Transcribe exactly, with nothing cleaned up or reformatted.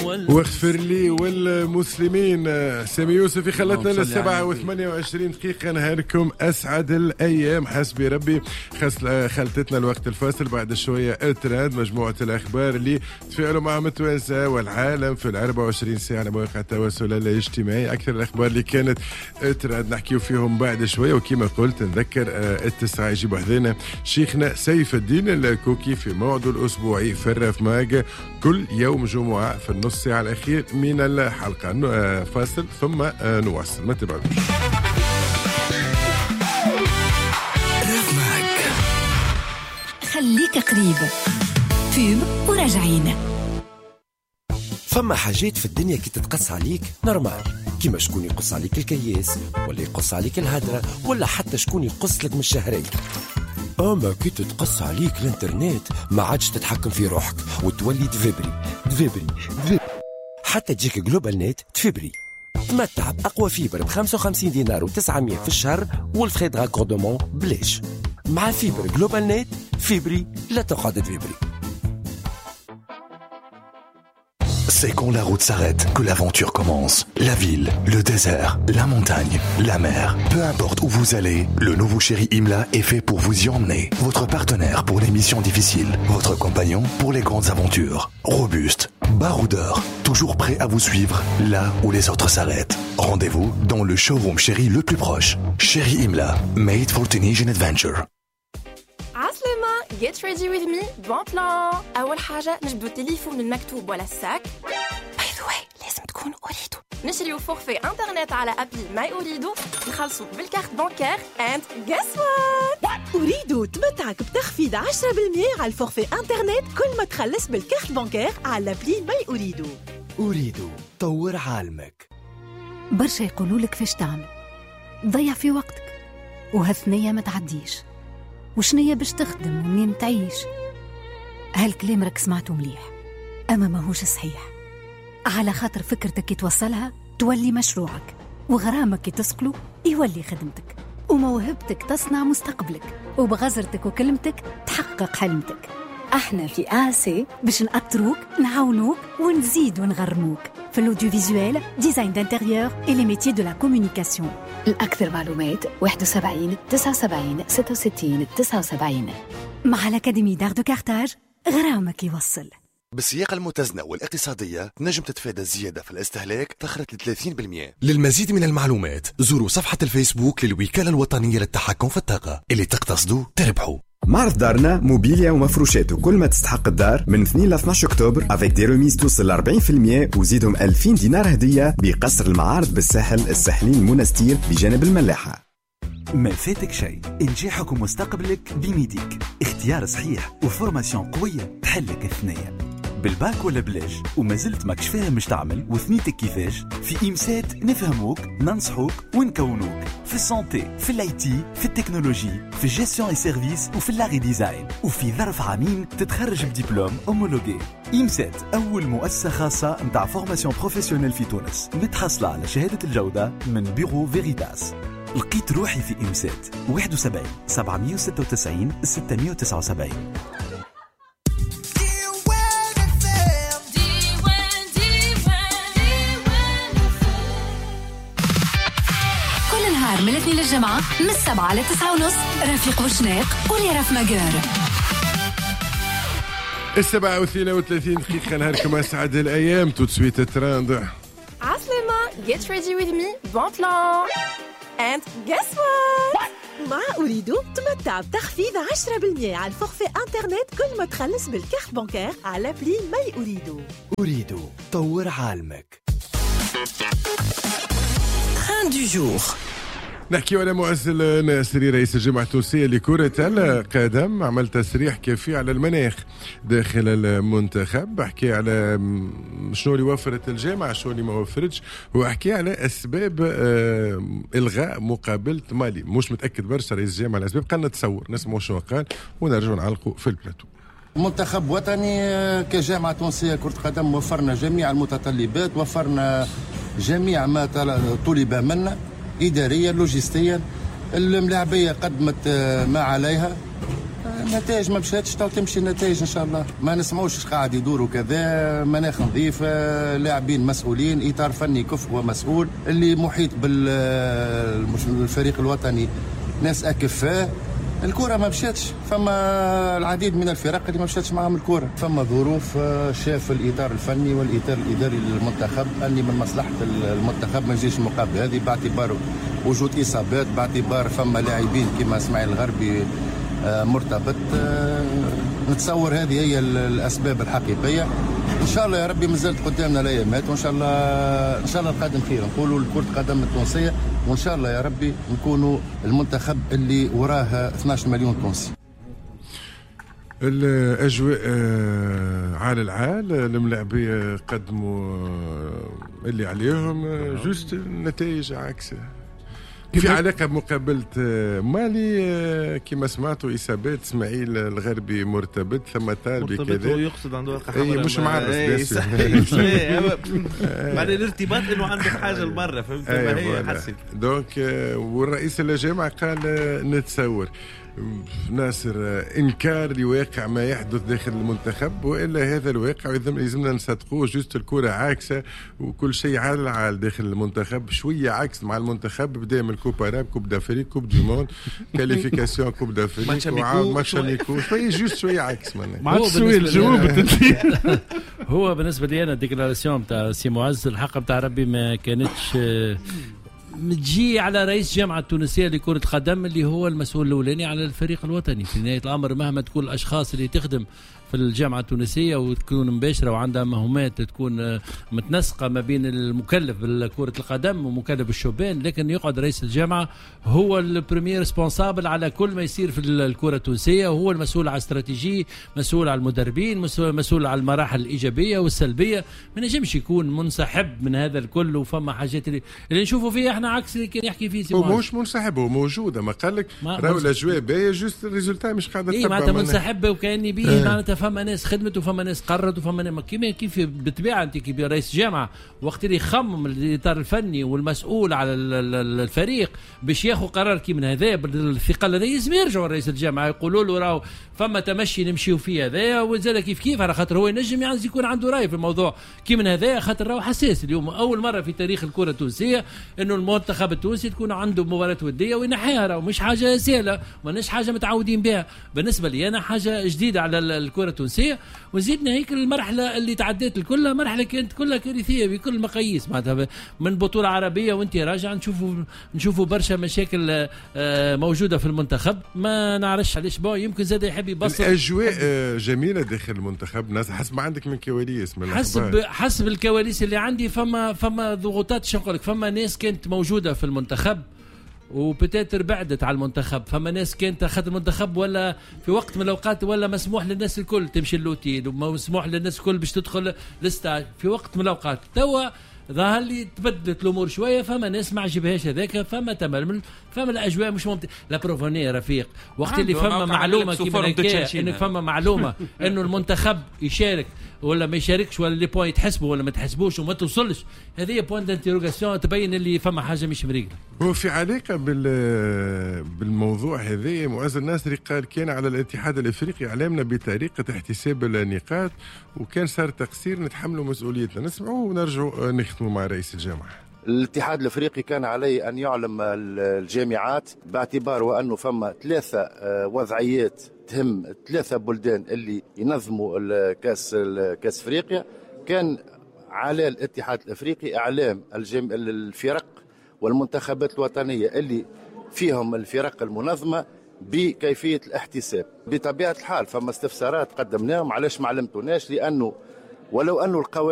واغفر لي والمسلمين. سامي يوسف خلتنا للسبعة وثمانية وعشرين دقيقة. نهاركم أسعد الأيام حسبي ربي. خلتتنا الوقت الفاصل بعد شوية الترند، مجموعة الأخبار اللي تفاعلوا معهم التوانسة والعالم في الأربعة وعشرين ساعة على مواقع التواصل الاجتماعي. أكثر الأخبار اللي كانت ترند نحكيو فيهم بعد شوية. وكما قلت نذكر التسعة يجيبوا حذينا شيخنا سيف الدين الكوكي في موعده الأسبوعي في الراف ماج كل يوم جمعة في النص ساعة الأخير من الحلقة. فاصل ثم نواصل، ما تبعدوش. خليك قريب pub وراجعين. فما حاجات في الدنيا كي تتقص عليك normal، كيما شكون يقص عليك الكياس ولا يقص عليك الهدرة ولا حتى شكون يقص لك من الشهرين. اما كي تتقص عليك الانترنت ما عادش تتحكم في روحك وتولي تفبري تفبري تفبري حتى تجيك GlobalNet تفبري. تمتع بأقوى fibre ب خمسة وخمسين دينار وتسعمية في الشهر وال frais de raccordement بلاش. مع fibre GlobalNet فيبري لا تقعد تفبري. C'est quand la route s'arrête que l'aventure commence. La ville, le désert, la montagne, la mer. Peu importe où vous allez, le nouveau Chery Imla est fait pour vous y emmener. Votre partenaire pour les missions difficiles, votre compagnon pour les grandes aventures. Robuste, baroudeur, toujours prêt à vous suivre là où les autres s'arrêtent. Rendez-vous dans le showroom Chery le plus proche. Chery Imla, made for Tunisian adventure. عسلامة، get ready with me, bon plan. أول حاجة نجبدو التليفون من المكتوب ولا ال sac. By the way لازم تكون Ooredoo. نشريو forfait internet على appli My Ooredoo، نخلصو بال carte bancaire and guess what؟ Ooredoo تمتعك بتخفيض عشرة بالمية على ال forfait internet كل ما تخلص بال carte bancaire على appli My Ooredoo. Ooredoo طور عالمك. برشا يقولوا لك فاش تعمل، ضيع في وقتك وهالثنية ما تعديش، وشنية باش تخدم ومنين تعيش. هالكلام راك سمعته مليح أما ماهوش صحيح، على خاطر فكرتك كي توصلها تولي مشروعك، وغرامك كي تسقله يولي خدمتك، وموهبتك تصنع مستقبلك، وبغزرتك وكلمتك تحقق حلمتك. احنا في آسي باش نأطروك، نعاونوك ونزيد ونغرموك في l'audiovisuel، design d'intérieur et les métiers de la communication. الأكثر معلومات واحد وسبعين تسعة وسبعين ستة وستين تسعة وسبعين. مع l'Académie d'art de Carthage غرامك يوصل. بالسياقة المتزنة والاقتصادية نجم تتفادى الزيادة في الاستهلاك تخرج ل ثلاثين بالمئة. للمزيد من المعلومات زوروا صفحة الفيسبوك للوكالة الوطنية للتحكم في الطاقة. اللي تقتصدوا تربحوا. معرض دارنا موبيليا ومفروشات وكل ما تستحق الدار من اثنين ل اثناش اكتوبر avec des remises توصل أربعين بالمئة وزيدهم ألفين دينار هدية بقصر المعارض بالساحل الساحلين المنستير بجانب الملاحة. ما فاتك شيء، انجاحك ومستقبلك بميديك، اختيار صحيح و formation قوية تحلك الثنية. بالباك ولا بلاش وما زلت ماكش فاهم مش تعمل وثنيتك كيفاش، في إمسات نفهموك ننصحوك ونكونوك في ال santé، في ال IT، في التكنولوجي، في ال gestion et services، وفي l'art design، وفي ظرف عامين تتخرج ب diplôme homologué. إمسات أول مؤسسة خاصة متاع formation professionnelle في تونس، متحصلة على شهادة الجودة من Bureau Veritas. لقيت روحي في إمسات واحد وسبعين سبعمية وستة وتسعين ستمية وتسعة وسبعين. من الاثنين للجمعة من السبعة لتسعة ونص رفيق وشناق ولي رف ماجور. السبعة واثنين وثلاثين دقيقة. نهاركم أسعد الأيام. tout de suite trend. عسلامة، get ready with me, bon plan and guess what؟ مع Ooredoo تمتع بتخفيض عشرة بالمئة على ال forfait internet كل ما تخلص بال carte bancaire على appli My Ooredoo. Ooredoo طور عالمك. Trend du jour. نحكي على معز الناصري رئيس الجامعة التونسية لكرة القدم، عمل تصريح كافي على المناخ داخل المنتخب، حكي على شنو اللي وفرت الجامعة شنو اللي ما وفرتش، وحكي على أسباب إلغاء مقابلة مالي. مش متأكد برشا رئيس الجامعة على الأسباب، قال نتصور نسمعوا شنو قال ونرجعوا نعلقوا في البلاتو. منتخب وطني كجامعة تونسية كرة قدم وفرنا جميع المتطلبات، وفرنا جميع ما طلب منا إداريا لوجستيا. الملاعبية قدمت ما عليها، النتائج ما مشاتش، تو تمشي النتائج ان شاء الله. ما نسمعوش قاعد يدوروا كذا، مناخ نظيف، لاعبين مسؤولين، اطار فني كفء ومسؤول، اللي محيط بالفريق الوطني ناس اكفاء. الكرة ما مشاتش، فما العديد من الفرق اللي ما مشاتش معاهم الكرة، فما ظروف. شاف الإطار الفني والإطار الإداري للمنتخب أني من مصلحة المنتخب ما يجيش المقابلة هذه، باعتبار وجود إصابات، باعتبار فما لاعبين كما إسماعيل الغربي مرتبط. نتصور هذه هي الأسباب الحقيقية. إن شاء الله يا ربي مازالت قدامنا الأيامات، وإن شاء الله إن شاء الله القادم خير، نقولوا لكرة القدم التونسية، وإن شاء الله يا ربي نكونوا المنتخب اللي وراه اثناش مليون تونسي. الأجواء عال العال، الملاعبية قدموا اللي عليهم، juste النتائج عكس. في علاقة بمقابلة مالي كما سمعتوا إصابات إسماعيل الغربي مرتبط، ثم طالبي كذا، هو يقصد عنده ورقة حمراء، اي مش معرس معنى الارتباط انه عنده حاجة لبرا، فهمت؟ ما هي حسيت donc. والرئيس الجامعة قال نتصور ناصر انكار لواقع ما يحدث داخل المنتخب، والا هذا الواقع يلزمنا نصدقوه. juste الكره عاكسه وكل شيء عال عال داخل المنتخب، شوية عكس مع المنتخب. بدا من Coupe arabe، Coupe d'Afrique، Coupe du monde، qualification Coupe d'Afrique، matchs amicaux، شوية juste شوية عكس. ما عادش جاوبت انت. هو بالنسبة لي انا ال déclaration تاع سي معز الحق نتاع ربي ما كانتش تجي على رئيس جامعة التونسية لكرة القدم اللي هو المسؤول الأولاني على الفريق الوطني. في نهاية الأمر مهما تكون الأشخاص اللي تخدم في الجامعة التونسية وتكون مباشرة وعندها مهمات تكون متنسقة ما بين المكلف بكرة القدم ومكلف بالشبان، لكن يقعد رئيس الجامعة هو ال premier responsable على كل ما يصير في الكرة التونسية، وهو المسؤول على الاستراتيجية، مسؤول على المدربين، مسؤول على المراحل الإيجابية والسلبية. ما نجمش يكون منسحب من هذا الكل. وفما حاجات اللي, اللي نشوفوا فيها احنا عكس اللي كان يحكي فيه. هو مش منسحب، هو موجود، ما قال لك راهو الاجواء باهيه، juste ال résultat مش قاعدة تتبع. اي معناتها منسحب وكاني بيه، معناتها فما ناس خدمت وفما ناس قررت وفما ناس كيما كيف بالطبيعة. انت كي رئيس جامعه وقت اللي يخمم الاطار الفني والمسؤول على الفريق باش ياخذ قرار كي من هذا بالثقة هذا، لازم يرجعوا لرئيس الجامعة يقولوا له راهو فما تمشي نمشيو فيه هذا، وزاد كيف كيف، على خاطر هو ينجم يعني يكون عنده راي في الموضوع كي من هذا، خاطر راهو حساس. اليوم اول مرة في تاريخ الكره التونسية انه المنتخب التونسي تكون عنده مباراة وديه وينحيها، راهو مش حاجة سهلة، ماناش حاجة متعودين بها. بالنسبة لي انا حاجة جديدة على الكره التونسية. وزيدنا هيك المرحلة اللي تعديت الكلها مرحلة كانت كلها كارثية بكل المقاييس، معناتها من بطوله عربية وانت راجع نشوفوا نشوفوا برشا مشاكل موجودة في المنتخب. ما نعرفش علاش، bon يمكن زاد يحب يبسط. الاجواء جميلة داخل المنتخب، ناس حسب ما عندك من كواليس، من حسب حسب الكواليس اللي عندي فما فما ضغوطات، شنو نقول لك، فما ناس كانت موجودة في المنتخب و peut-être بعدت على المنتخب، فما ناس كانت اخذت المنتخب ولا في وقت من الاوقات ولا مسموح للناس الكل تمشي l'hôtel ومسموح للناس الكل باش تدخل ال stade في وقت من الاوقات. توا ظهر لي تبدلت الامور شوية، فما ناس ما عجبهاش هذاك، فما تململ، فما الاجواء مش ممتازة. la preuve رفيق وقت اللي فما معلومة كيما هكا، انك فما معلومة انه المنتخب يشارك ولا ما يشاركش، ولا les points يتحسبوا ولا ما تحسبوش وما توصلش، هذه point d'interrogation تبين اللي فما حاجة مش مريقله. هو في علاقة بال بالموضوع هذا، معز الناصري قال كان على الاتحاد الافريقي اعلامنا بطريقة احتساب النقاط، وكان صار تقصير نتحملوا مسؤوليتنا. نسمعوه ونرجعوا نختموا مع رئيس الجامعة. الاتحاد الافريقي كان عليه ان يعلم الجامعات باعتبار وانه فما ثلاثة وضعيات تهم ثلاثة بلدان اللي ينظموا الكاس كاس افريقيا. كان على الاتحاد الافريقي اعلام الفرق والمنتخبات الوطنية اللي فيهم الفرق المنظمة بكيفية الاحتساب. بطبيعة الحال فما استفسارات قدمناهم، علاش ما علمتوناش؟ لانه ولو انه القوانين